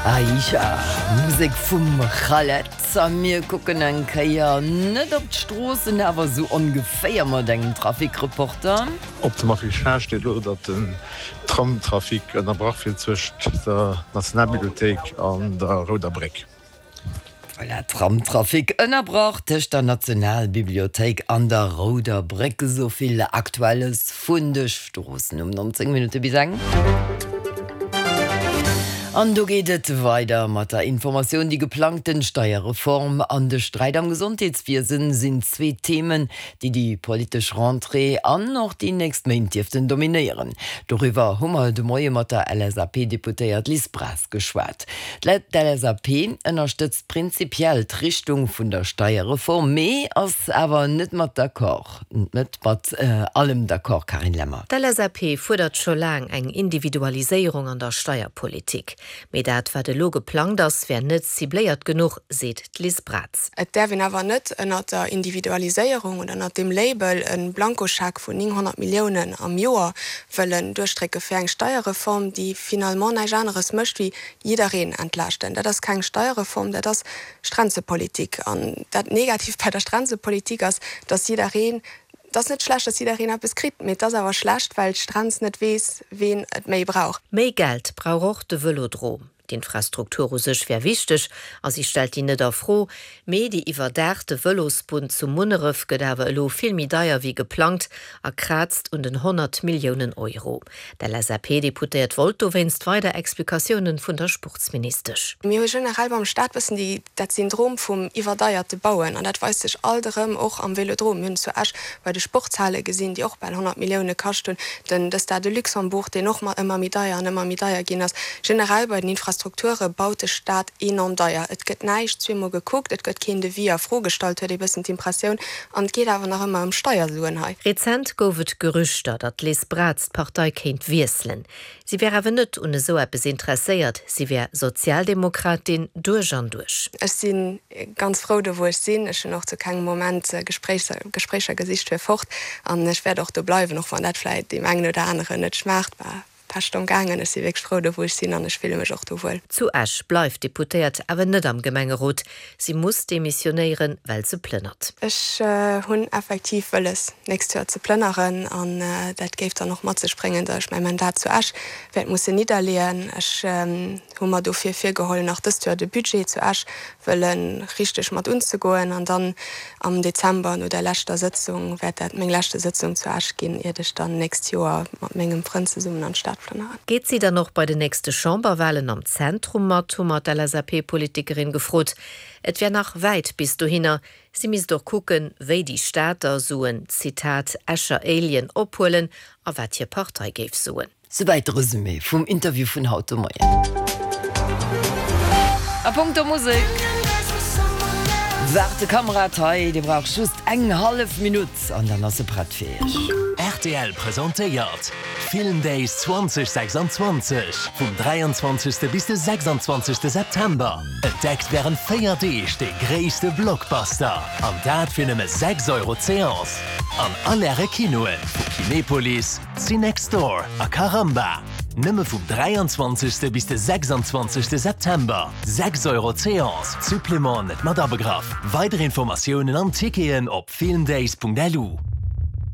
Aisha, Musek vum Khaled. A mir kucken eng Kéier net op d'Stroossen, awer esou ongeféier mat engem Trafikreporter. Op dem Affichage steet elo, datt den Tramtrafic ënnerbrach wier zwëscht der Nationalbibliothéik an der Rouder Bréck. Voilà, Tramtrafic ënnerbrach tëscht der Nationalbibliothéik an der Rouder Bréck. Esou vill Aktuelles vun de Stroossen um 19 Minutte bis eng. An do geet et weider mat der Informatioun. Déi geplangten Steierreform an de Sträit am Gesondheetswiesen sinn zwee Themen, déi déi politesch Rentrée an och déi nächst Méint dierften dominéieren. Doriwwer hu mer de Moie mat der LSAP-Deputéiert Liz Braz geschwat. D'LSAP ënnerstëtzt prinzipiell d'Richtung vun der Steierreform, mee ass awer net mat d'accord, net mat allem d'accord, Carine Lemmer. D'LSAP fuerdert scho laang eng Individualiséierung an der Steierpolitik. Mee dat, wat elo geplangt ass, wär net cibléiert genuch, seet d'Liz Braz. Et däerf een awer net ënnert der Individualiséierung oder ënnert deem Label e Blankoscheck vun 900 Milliounen am Joer wëllen duerchdrécke fir eng Steierreform, déi finalement näischt aneres mécht wéi jiddereen entlaaschten. Dat ass keng Steierreform, dat ass Stränzepolitik. An dat Negatiivt bei der Stränzepolitik ass, dass jiddereen, et ass net schlecht, dass jiddereen eppes kritt, mee et ass awer schlecht, well d'Stränz net weess, ween et méi brauch. Méi Geld brauch och de Vëlodrom. D'Infrastruktur u sech wär wichteg a si stellt déi net a Fro, mee déi iwwerdaachte Vëlosbunn zu Munneref gëtt awer elo vill méi deier wéi geplangt a kraazt un den 100 Milliounen Euro. D'LSAP-Deputéiert wollt dowéinst weider Explikatiounen vun der Sportsministesch. Mir hu generell beim Staat bëssen déi, dat Syndrom vum iwwerdeierte Bauen an dat weist sech alt erëm och am Vélodrome. Mir hunn et zu Esch bei de Sportshale gesinn, déi och bal 100 Millioune kascht hunn, den de Stade de Luxembourg, deen och ëmmer méi deier an ëmmer méi deier ginn ass. Generell bei den Infrastrukture baut de Staat enorm deier. Et gëtt näischt zweemol gekuckt, et gëtt keen Devis a Fro gestallt, huet ee bëssen d'Impressioun. An et geet awer nach ëmmer ëm Steiersuen hei. Rezent gouf et Gerüchter, datt d'Liz Braz d'Partei kéint wiesselen. Si wär awer net un esou eppes interesséiert, si wär Sozialdemokratin duerch an duerch. Ech si ganz frou do wou ech sinn. Ech hunn och zu kengem Moment Gespréicher gesicht fir fort an ech wäert och do bleiwen, och wann dat vläit deem engen oder aneren net schmaacht. Bah, Pescht am gaangen. Ech si wierklech frou do wou ech sinn an ech fille mech och do wuel. Zu Esch bleift d'Deputéiert awer net am Gemengerot. Si muss demissionéieren, well se plënnert. Ech hunn effektiv wëlles, nächst Joer ze plënneren an dat géif dann och mat sech bréngen, datt ech mäi Mandat zu Esch wäert mussen nidderleeën. Ech hu mer dofir virgeholl, nach dëst Joer de Budget zu Esch wëlle richteg mat unzegoen an dann am Dezember no der leschter Sëtzung wäert dat meng leschte Sëtzung zu Esch ginn, iert ech dann nächst Joer mat mengem Frënd zesummen an d'Stad plënneren. Geet si dann och bei den nächste Chamberwahlen am Zentrum mat, hu mer d'LSAP-Politikerin gefrot. Et wär nach wäit bis dohinner. Si misst och kucken, wéi déi Stater Suen, Zitat, Escher Alien ophuelen a wat hir Partei géif soen. Souwäit de Resumé vum Interview vun haut de Moien. A punkto Musek waart de Kamerad hei, dee brauch just eng hallef Minutt an dann ass e prett fir iech. Rtl presentéiert Film Days 2026 vum 23. Bis de 26. September. Entdeckt wärend 4 Deeg de gréisste Blockbuster an dat fir nëmme 6 Euro d'Seance an all Äre Kinoen vu Kinepolis, Cinextdoor a Caramba. Nëmme vum 23. Bis de 26. September. 6 Euro d'Seance, Supplément net mat abegraff. Weider Informatiounen an Ticketen op filmdays.lu.